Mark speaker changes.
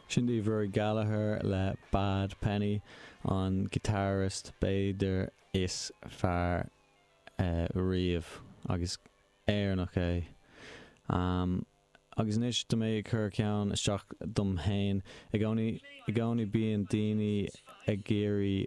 Speaker 1: Sin daoibh Rory Gallagher le Bad Penny, an guitarist b'fhéidir is fearr riamh, agus Éireannach é. Agus anois tá mé ag cur ceann isteach dom fhéin. I gcónaí, i gcónaí bíonn daoine ag iarraidh.